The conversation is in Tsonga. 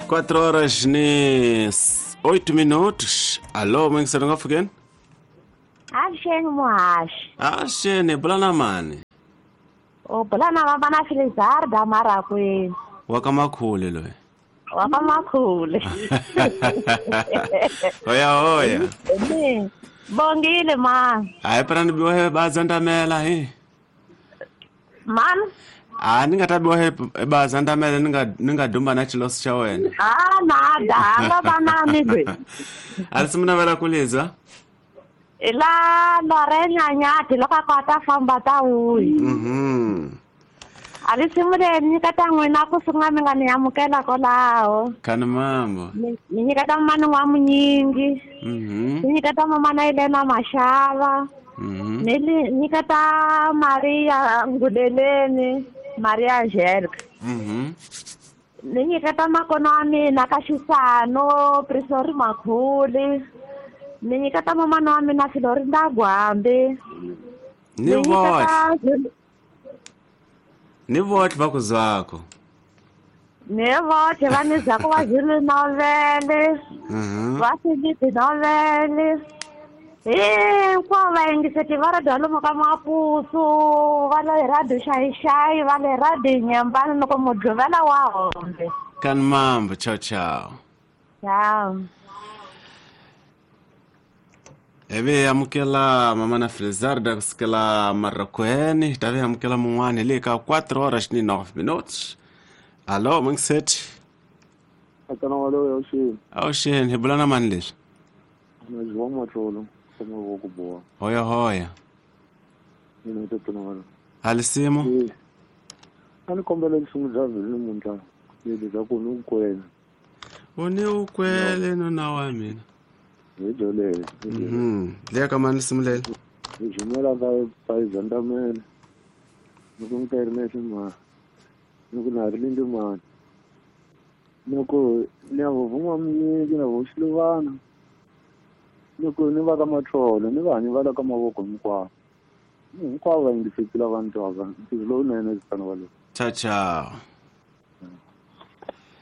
4 horas ni 8 minutos. Alô, mwengisero ngafukeni? Avuxeni muhaxi. Avuxeni, bulana mani? U bulana va vana Filizarda Marakwini. Wa ka Makhule loyi. Wa ka Makhule. Hoya hoya. Bongile ma. Hayi phela ni biwa bazandamela hi. Man? A ni nga ta biwa bazandamela ni nga dumba na xilosi xa wena. Ah na danga vanani lwe. A ri simu navela ku liza? La Lorena Nyati loko a kota famba ta wuyi. A ri simu leyi ni nyiketa n'wina ku sungula mi nga ni amukela kwalaho. Khani mambo. Ni nyiketa mani wa munyingi. Ni nyiketa mamana Elena Mashava. Ni nyiketa Maria Nguleleni, Maria Angelica. Ni nyiketa makono wa mina ka Xisano, Prisori Makhuli. Ni nyiketa mamana wa mina Florinda Gwambi. Ni vohle. Ni vohle va ku zwako. Ni vohle va ni zwako va Zulu novele. Va Philip novele. Hinkwavo va yingiseti va radio lomu ka Mapuso, va le radio Xayi-Xayi, va le radio Nyembani loko Mudluvela wa hombe. Kani mambo, ciao ciao. Ciao. Eve amukela mama na Filizarda kusukela Marokweni, tave amukela mun'wana le ka 4 horas ni 9 minutos. Allo, mungiseti. Akana walo awuxeni. Awuxeni, hi bulana mani leswi? Na João Matlolo, kama ku boha. Hoya hoya. Mina to tona. Alisimo? A ni kombela lisimu bya vhele namuntlha. Leli bya ku ni ukwele. U ni ukwele nuna wa mina. Hi byolele. Leya ka mani lisimu leli? Hi jumela ka Zandamela. Ni ku nkarhi na ximani. Ni ku na ri lindi mani. Ni ku ni ya vuvuma munyiki na vo Xiluvana. Ni ku ni va ka Matlolo, ni va hanyi va la ka mavoko hinkwavo. Hinkwavo va yingisekile va ni twaka. Ntirho lowunene tano walowo. Ciao ciao.